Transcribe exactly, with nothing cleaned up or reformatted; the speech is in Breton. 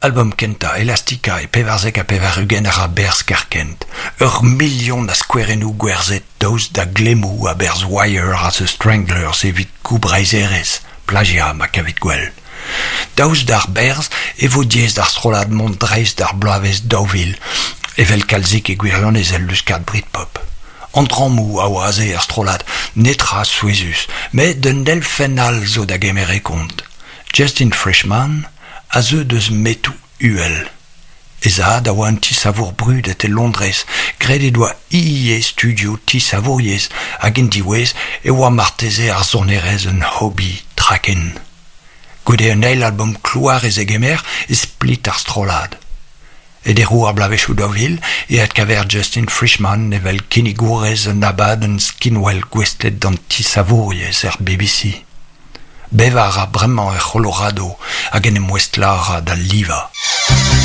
Albom kentañ Elastica e pevarzek ha pevar-ugent a ra berzh kerkent. Ur milion a skouerennoù gwerzhet daoust da glemmoù a-berzh Wire ha The Stranglers evit goubreizherezh, plagiañ ma kavit gwell. Daoust d'ar berzh e vo diaes d'ar strollad mont dreist d'ar bloavezh daou vil, evel kalzik e gwirionez el luskad Britpop. An drammoù a oa aze er strollad, netra souezhus, met un elfenn all zo da gemer e kont. Justin Frischmann a zeu deus metoù uhel. E zad a oa un tisavour brudet e Londrez, graet he doa ivez studioù tisavouriezh hag en diwezh e oa marteze ar sonerezh un hobby traken. Goude un eil albom klouar e zegemer e split ar strollad. E deroù ar bloavezhioù daou vil e adkaver Justin Frischmann evel kinnigourez un abadenn skinwel gouestlet d'an tisavouriezh er B B C. Bevañ a ra bremañ er C'holorado hag en em ouestlañ a ra d'al livañ.